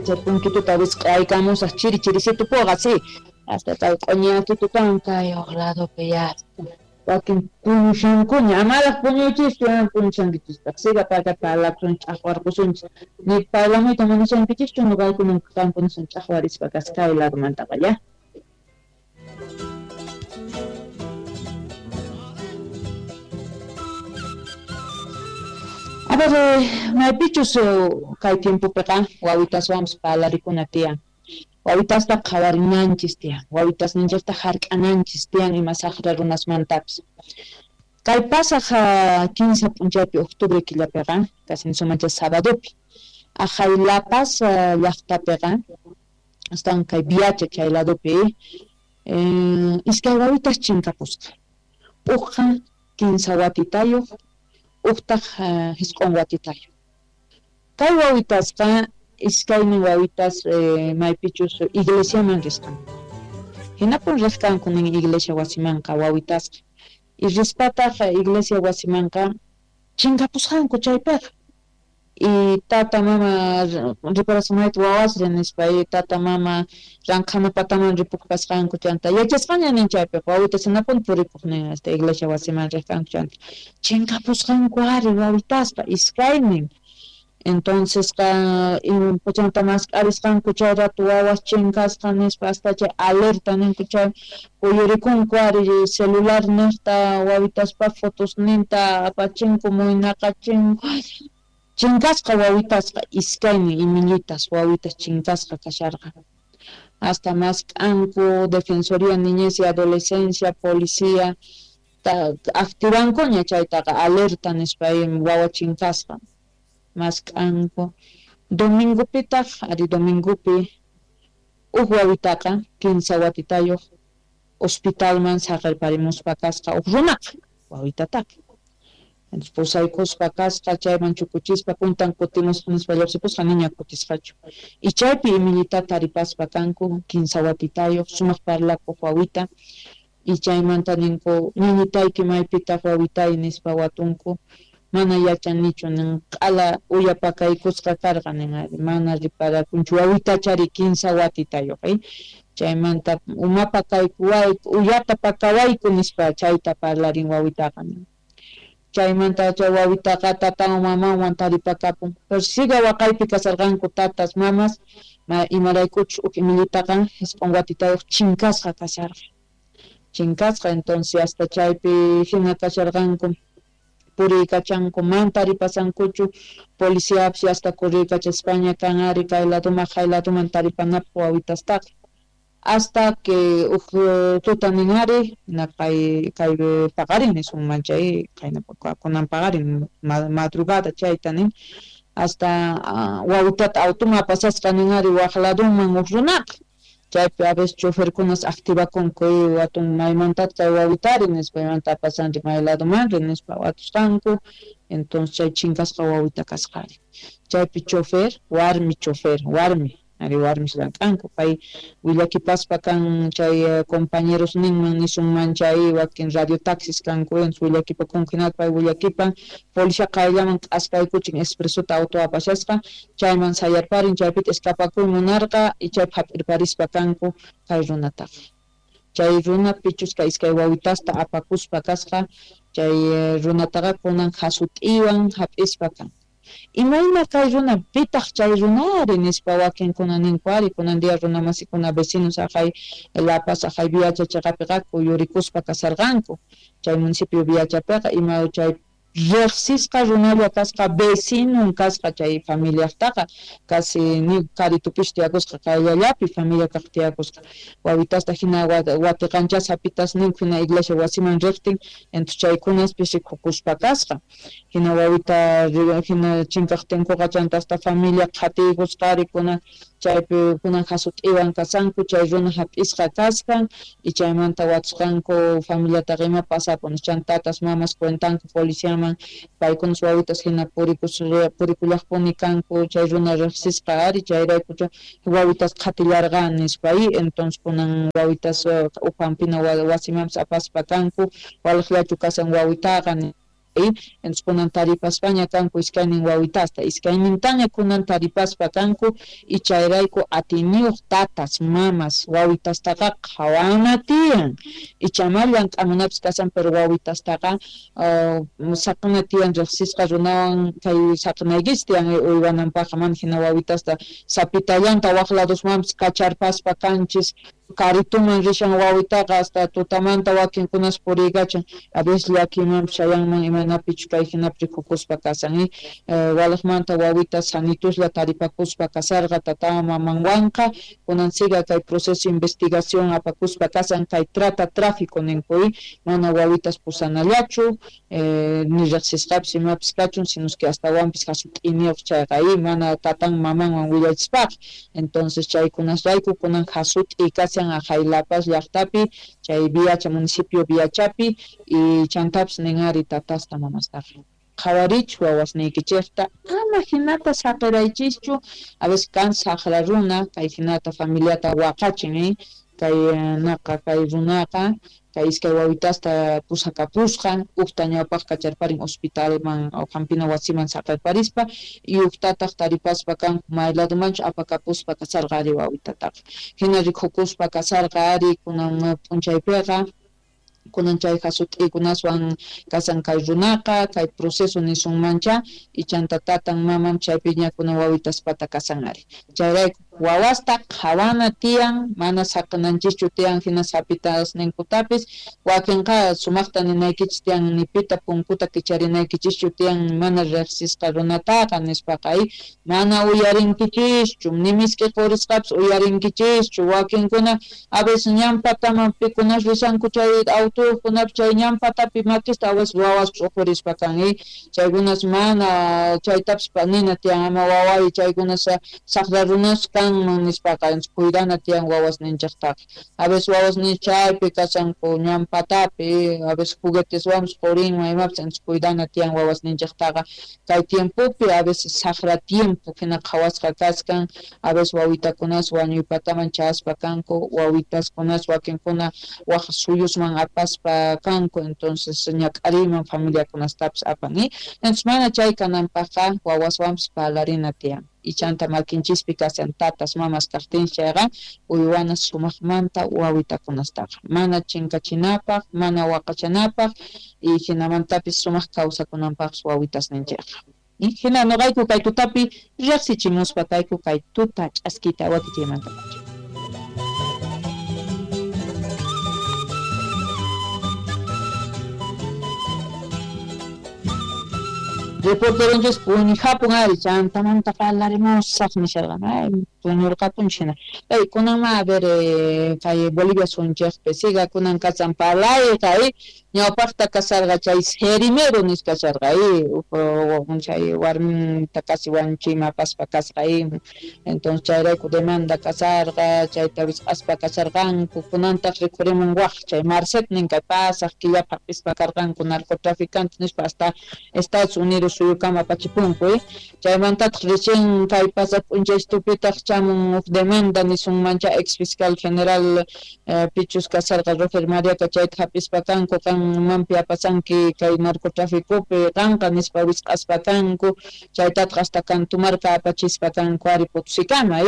Chay punkituta wisq'aykamusaj chiri chirisito puqa, sí. Hasta kay q'oñiyakitutawan kay uq ladopi ya. Wakin puñushankuña, amaraj puñuychischu, puñushankichistaq. Siga paka parlakusun, ch'aqwarqusunchis. Ni parlamuyta munashankichischu, noqayku qankunasun ch'aqwarispa kasqa kay ladomantaqa, ya. A ver, maypichus kay tiempopiqa wawitaswanpis parlarikuna tiyan. Wawitasta qhawarinanchis tiyan, wawitasninchikta hark'ananchis tiyan ima saqra runasmantapis. Kay pasaq 15 p'unchaypi octubre killapiqa, casi nisunman chay sabadopi, aqhay La Paz llaqtapiqa, astawan kay Viacha chay ladopi, iskay wawitas chinkapusqa. Ujqa 15 watitayuq, ujtaq 9 watitayuq. Kay wawitasqa iskaynin wawitas maypichus iglesiaman risqanku. Hinapun riqkanku nin iglesia wasimanqa wawitasqa. Y rispataq iglesia wasimanqa chinkapusqanku chaypiqa. Y tata mama riparasunayta wawasri nispa, y tata mama ranqhana pataman ripukpasqanku chanta yachasqaña nin chaypiqa wawitas hinapun puripuq nin hasta iglesia wasiman riqkanku chanta chinkapusqanku ari wawitasqa iskaynin. Entonces chanta mask'arisqanku chay rato wawas chinkasqa nispa hasta chay alerta ninku chay kuyurikunku ari celular niqta wawitaspa fotosninta apachinku muynaqachinku. Chinkasqa wawitasqa iskaynin imillitas wawitas chinkasqa kasharqa. Hasta mask'anku Defensoría Niñez y Adolescencia, policía, activankuña chaytaqa alerta nispa wawa chinkasqa. Mask'anku. Domingopitaq, ari domingopi, uj wawitaqa 15 watitayuq hospitalman saqerparimuspa kasqa uj runaqa wawitataqa. Entonces pusaykuspa kasqa chayman chukuchispa puntan kutimusqa nispa lluqsipusqa niña kutisqachu. Y chaypi imillitata taripaspa kanku 15 watitayuq sumaq parlakuq wawita. Y chaymanta ninku ñañitayki maypitaq wawitay nispa watunku. Mana yachanichu nin q'ala uyapakaykusqa karqa nin ari mana riparakunchu wawitachari 15 watitayuq chaymanta umapakaykuwayku uyata pakawayku nispa chayta parlarin wawitaqa nin. Chaymanta chay wawitaqa tatanwan mamanwan taripakapun. Pero siga waqaypi kasarqanku tatas mamas imaraykuchus uj imillitaqa 9 watitayuq chinkasqa kasharqa. Chinkasqa entonces hasta chaypi hina kasharqanku puriykachanku man taripasankuchu policiapis hasta kurriykachaspaña kan ari kay ladoman hay ladoman taripanapaq wawitastaqa. Hasta que uj tuta nin ari kay kay paqarin nisunman chay qayna kunan paqarin madrugada chayta nin hasta wawitata automan apasasqa nin ari waq ladoman uj runaqa. Chaypi a veces choferkunas activakunku watun maymantata chay wawitari nispa maymanta apasanri may ladomanri nispa watusqanku. Entonces chay chinkasqa wawita kasqari. Chaypi chofer, warmi chofer, warmi ari warmis llank'anku pay willakipaspa kan chay compañeros ninman nisunman chay wakin radio taxis kanku willakipakunku hinata pay willakipan policía qayllaman k'askaykuchin expresota auto apashasqa chayman sayarparin chaypita escapakuy munarqa y chaypi hap'irparispa kanku kay runataqa. Chay runa pichusqa iskay wawitasta apakuspa kasqa chay runataqa kunan hasut'iwan hap'ispa kan. Imayna kay runa pitaq chay runari nispa wakinkuna ninku ari kunan día runamasikuna vecinos aqhay La Paz aqhay Viacha chaqapiqa kuyurikuspa kasarqanku chay municipio Viachapiqa ima chay riqsisqa runalla kasqa vecinon kasqa chay familiaqtaqa casi ni karitupis tiyakusqa qayllallapi familia kaq tiyakusqa wawitasta hina watiqanchas hapitas ninku hina iglesia wasiman riqtin entonces chaykunaspis rikukuspa kasqa hina wawita hina chinkaqtinkuqa chanta hasta familia qhatiykusqari kunan chaypi kunan hasut'iwan kasanku chay runa hap'isqa kasqan y chaymanta watusqanku familiataqa ima pasapun chanta tatas mamas cuentanku policiaman paykunas wawitas hina purikullaqpuni kanku chay runa riqsisqa ari chayrayku wawitas qhatillarqan nispa y entonces kunan wawitas uj hampina wasimanpis apaspa kanku waliqllachu kasan wawitaqa. Entonces kunan taripaspaña kanku iskaynin wawitasta, iskaynintaña kunan taripaspa kanku y chayrayku atiyniyuq tatas, mamas wawitastaqa qhawana tiyan. Ichama llank'amunapis kasan, pero wawitastaqa saqina tiyan riqsisqa runawan kay saqinaykichis tiyan uywananpaqqa, mana hina wawitasta sapitallanta waq ladosmanpis kacharpaspa kanchis. Carituman rishan wawitaqa hasta tutamanta wakinkunas puriykachan, a veces llakimanpis chayanman imaynapichu kay hinapi rikukuspa kasan. Walaqmanta wawita sanituslla taripakuspa kasarqa tatawan mamanwanqa, kunan siga kay proceso investigación apakuspa kasan kay trata tráfico ninku, mana wawitas pusanallachu, ni riqsisqapis imapis kachun, sino que astawanpis hasut'iniyuq chayqa mana tatan mamanwan willachispaqa. Entonces chaykunasrayku kunan hasut'i kasan ajay La Paz llaqtapi, chay Viacha, municipio Viachapi, y chantapis ninari tatasta mamastaqa. Qhawarichu wawasniykichikta, ama hinata saqiraychischu, a veces kan saqra runa, kay hinata familiata waqachin, kay naqa kay runaqa, kay iskay wawitasta pusakapusqa, ujta ñawpaq kacharparin hospitalman o hampina wasiman saqirparispa, y ujtataq taripaspa kanku may ladomanchu apakapuspa kasarqa ari wawitataqa. Hina rikukuspa kasarqa ari kunan p'unchaypiqa, kunan chay hasut'ikunaswan kasan kay runaqa, kay proceso nisunmancha, y chanta tatan maman chaypiña kunan wawitaspata kasan ari. Chayrayku wawasta qhawana tiyan, mana saqinanchischu tiyan hina sapitasninkutapis, wakinqa sumaqta ninaykichis tiyan, nipita punkuta kicharinaykinchischu tiyan mana riqsisqa runataqa nispaqa, mana uyarinkichischu, ni misk'i qurisqapis uyarinkichischu, wakinkuna a veces ñan pataman pikunas rishanku chay autukunapis chay ñan patapi makista a veces wawas ch'uqurispa kan, chaykunas mana chaytapis nina tiyan, ama waway chaykunas saqra runas kanman nispaqa, cuidana tiyan wawasninchiktaqa. A veces wawasnin chaypi kashanku ñan patapi, a veces jugueteswanpis qurinman imapis, entonces cuidana tiyan wawasninchiktaqa. Kay tiempopi a veces saqra tiempo hina qhawasqa kaskan, a veces wawitakunas wañuypataman chayaspa kanku, wawitaskunas wakinkuna waq suyusman apaspa kanku, entonces ñak'ariyman familiakunastapis apan. Entonces mana chay kananpaqqa wawaswanpis parlarina tiyan. Y chanta makinchispi kasan tatas mamas kaqtin chayqa uywana sumaqmanta wawitakunastaqa mana chinkachinapaq, mana waqachanapaq, y hinamantapis sumaq kawsakunanpaqpis wawitasninchikqa. Hina noqayku kay tutapi riqsichimuspa kayku kay tuta ch'askita wakichiymantapacha. Reporteronchis puñujapun ari, chantamanta parlarimusaq nisharqan, ay puñurqapunchis hina. Ay kunanma a ver kay Bolivia sunchikpi siga kunan kasan parlayqa, ñawpaqta kasarqa chay cerimero nisqa kasharqa, chay warminta casi wañuchiyman apaspa kasqa, entonces chayrayku demanda kasarqa, chayta wisq'aspa kasharqanku, kunantaq rikhurimun waq chay Marcet nin kay pasaq killapaq hap'ispa karqanku narcotraficante nispa hasta Estados Unidos suyukama apachipunku, chaymantataq recién kay pasaq p'unchaystupitaq chamun huk demanda nisunmancha ex fiscal general pichus kasarqa Roger Mariaca chayta hap'ispa kanku, qanmanpi apasanki kay narcotraficopi qanqa nispa wisq'aspa kanku, chaytataq hasta Cantumarca apachispa kanku ari Potosíkama,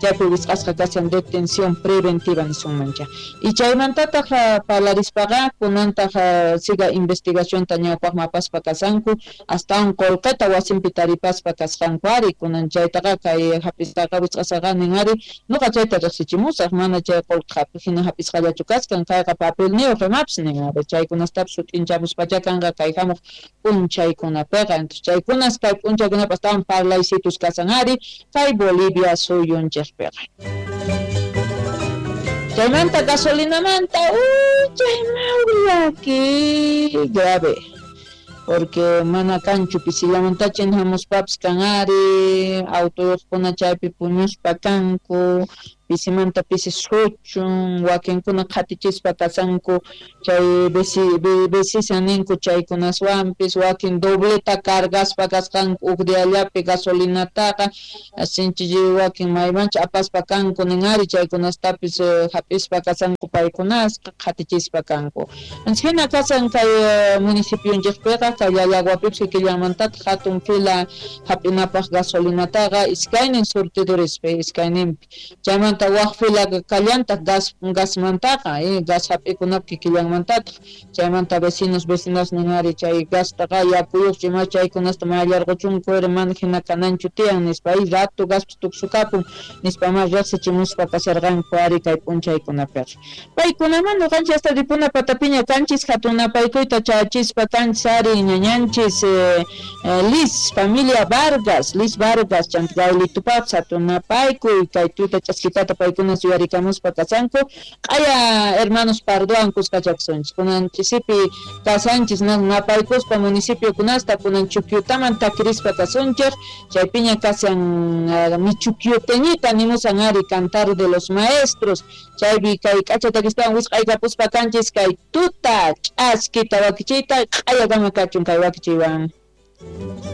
chaypi wisq'asqa kashan detención preventiva nisunmancha. Y chaymantataq parlarispaqa kunantaq siga investigacionta ñawpaqman apaspa kasanku, hasta un qullqita wasinpi taripaspa kasqanku ari, kunan chaytaqa kay hap'isqaqa wisq'asqaqa nin ari nuqa chayta riqsichimusaq, mana chay qullqi hina hap'isqallachu kaskan, kayqa papelniyuq imapis nin ari, chaykunastapis sut'inchamuspacha kanqa kay hamuq p'unchaykunapiqa. Entonces chaykunas kay p'unchaykunapi astawan parlaysitus kasan ari kay Bolivia suyunchikpiqa. Chaymanta gasolinamanta, chay mawllaki grave, porque mana kanchu pisillamantacha hamuspapis kan ari, autoyuqkuna chaypi puñuspa kanku, Pisimanta pisi suchun, wakinkuna qhatichispa kashanku chay besisan ninku chaykunaswanpis, wakin dobleta cargaspa kasqanku uj diallapi gasolinataqa, sinchi wakin maymancha apaspa kanku nin ari chaykunastapis hap'ispa kashanku paykunasqa qhatichispa kanku. Hina kashan kay municipionchikpiqa, kay Llallaguapipis kikillanmantataq hatun fila hap'inapaq gasolinataqa iskaynin surtidurispi, iskayninpi. Chaymanta waq fila kallantaq gasmantaqa, gas hap'ikunap kikillanmantataq. Chaymanta vecinos, vecinas nin ari chay gastaqa yakuyuqchu ima chaykunasta mayallarquchunku mana hina kananchu tiyan nispa, rato gaspis tuksukapun nispa ma riqsichimuspa kasharqanku ari kay p'unchaykunapiqa. Paykunaman ñuqanchik hasta ripuna patapiña kanchis hatun napaykuyta chayachispa kanchis ari ñañanchis Liz, familia Vargas, Liz Vargas, chanta Gaulitupapis hatun napaykuy kay tuta ch'askitata paykuna yuyarikamuspa kashanku q'aya hermanos Pardoan kuskachakusunchis kunan ch'isipi kasanchis napaykuspa municipiokunasta kunan Chukyutaman takirispa kasunchik chaypiña kashan mi chukyuteñita nimusan ari cantar de los maestros chaypi kay k'acha takistawan wisq'aykapuspa kanchis kay tuta ch'askita wakichiyta q'ayakama kachun kay wakichiywan.